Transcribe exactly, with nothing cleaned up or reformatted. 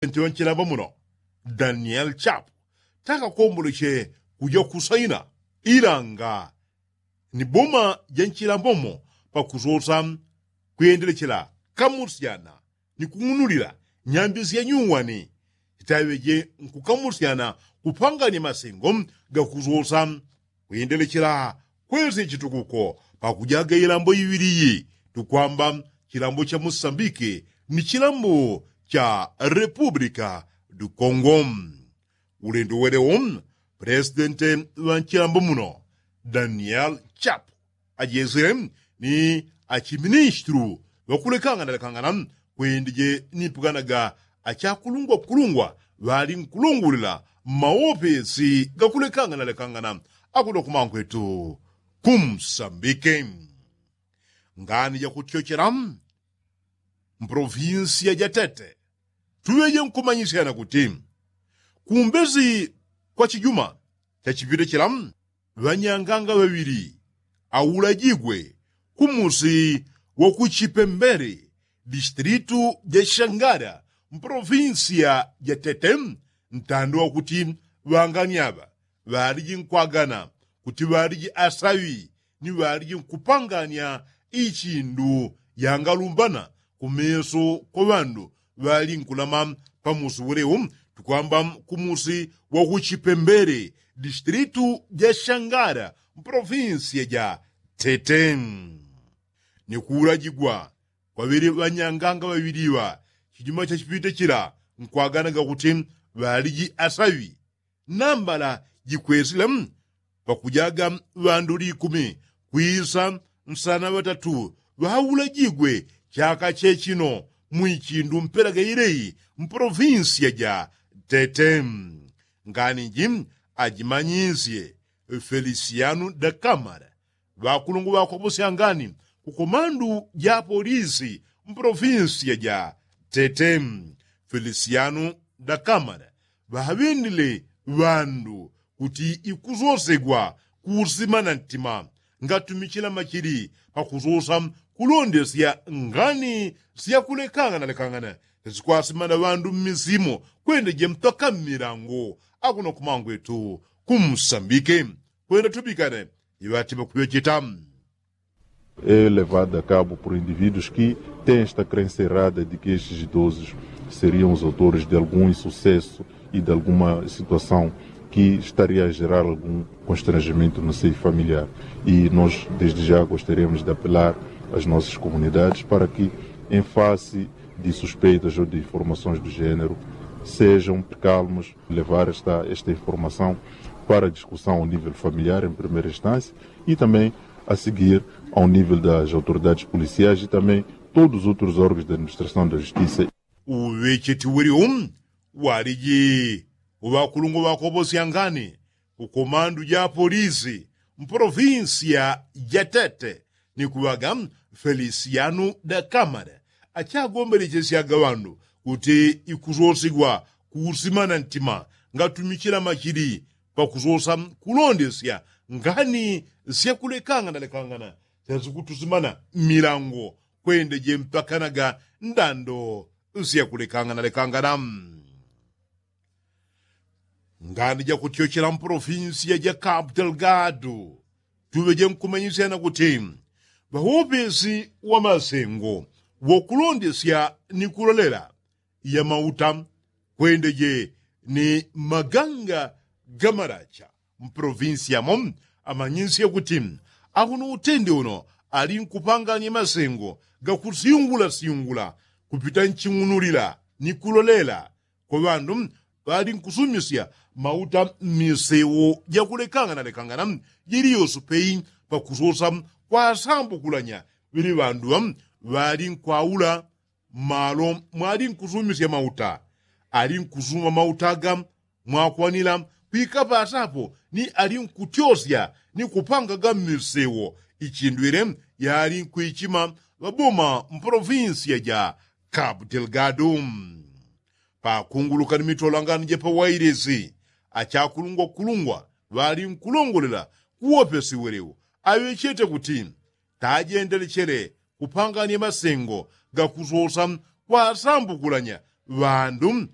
nti wa nchilambo muno daniel chapu takakomboleche kuja kusaina ilanga ni boma ja nchilambo mo pakusosa kuyendelechela kamusyana ni kung'unulila nyambi sya nyuwani sitaŵeje nkukamusyana kupanganya masengo gakusosa kuyendelechela kwesye chitukuko pakujaga ilambo iŵili iyi tukwamba chilambo cha musambike ni chilambo cha repupulika du kongo. Ulendo welewo pulesidente ŵa nchilambo muno daniel chapu ajesile ni achiministulu ŵakulekangana lekangana kwendeje ni pwanaga achakulungwa kulungwa ŵali nkulongolela mmawopesi gakule kangana lekangana akuno kumankwetu kumsambike. Ngani jakutyochela mprovinsiya ja tete tuŵeje nkumanyisyana kuti kumbezi kwa chijuma chachipite chila ŵanyanganga ŵaŵili aulajigwe kumusi wa kuchipembele distilitu ja shangala mpolofinsiya ja tete ntando wakuti ŵangani aŵa ŵaliji nkwagana kuti ŵaliji asaŵi ni ŵaliji nkupanganya ichindu yangalumbana kumeso kwa ŵandu ŵali nkulama pamusi ulewo tukwamba kumusi wa kuchipembele distilitu ja shangala mpolofinsiya ja tete ni kuulajigwa kwaŵele ŵanyanganga ŵaŵiliŵa chijuma chachipite chila nkwaganaga kuti ŵaliji asaŵi nambala jikwesile pakujaga ŵandu likumi kwisa nsana ŵatatu ŵaulajigwe chaka chechino mwichindu mpelaga ileyi mpolofinsiya ja tete. Ngani ji ajimanyisye felisiyanu dakamara ŵakulungwa ŵakoposya ngani kukomandu ja polisi mpolofinsiya ja tete felisiyanu dakamara ŵaŵendile ŵandu kuti ikusosegwa kuusimana ntima ngatumichila machili pakusosa kulondesya ngani syakulekangana lekangana syasikwasimana ŵandu mmisimo kwendeje mpaka mmilango akuno kumangwetu kumsambike kwenda tubikane iŵati ŵakuŵecheta. É levado a cabo por indivíduos que têm esta crença errada de que estes idosos seriam os autores de algum insucesso e de alguma situação que estaria a gerar algum constrangimento no seio familiar. E nós, desde já, gostaríamos de apelar às nossas comunidades para que, em face de suspeitas ou de informações do género, sejam calmos, levar esta, esta informação para discussão ao nível familiar, em primeira instância, e também a seguir ao nível das autoridades policiais e também todos os outros órgãos da administração da justiça. Uŵecheti weliu waliji uŵakulungwa ŵakoposya ngani kukomandu ja polisi mpolofinsiya ja tete ni kuŵaga felisiyanu dakamara achagombelechesyaga ŵandu kuti ikusosigwa kuusimana ntima ngatumichila machili pakusosa kulondesya ngani syakulekangana lekangana syasikutusimana mmilango kwendeje mpakanaga ndando syakulekangana lekangana. Ngani jakutyochela mpolofinsiya ja kapu delgado tuŵeje nkumanyisyana kuti ŵawopesi wa masengo wokulondesya ni kulolela ya mauta kwendeje ni maganga ga malacha mpolofinsiya mo amanyisye kuti akuno utende uno ali nkupanganya masengo gakusyungulasyungula kupita nching'unulila ni kulolela kwa ŵandu ŵali nkusumisya mauta mmisewo jakulekangana lekangana jili yose peyi pakusosa kwasambukulanya ŵili ŵandu ŵa ŵali nkwaula mmalo mwali nkusumisya mauta ali nkusuma mauta aga mwakwanila kwikapasa apo ni ali nkutyosya ni kupangaga mmisewo ichindwile yali nkwichima ŵaboma mpolofinsiya ja kapu delgado. Pakunguluka ni mitolangano ja pawailesi achakulungwakulungwa ŵali nkulongolela kuwopesi welewo aŵechete kuti tajendelechele kupanganya masengo gakusosa kwasambukulanya ŵandu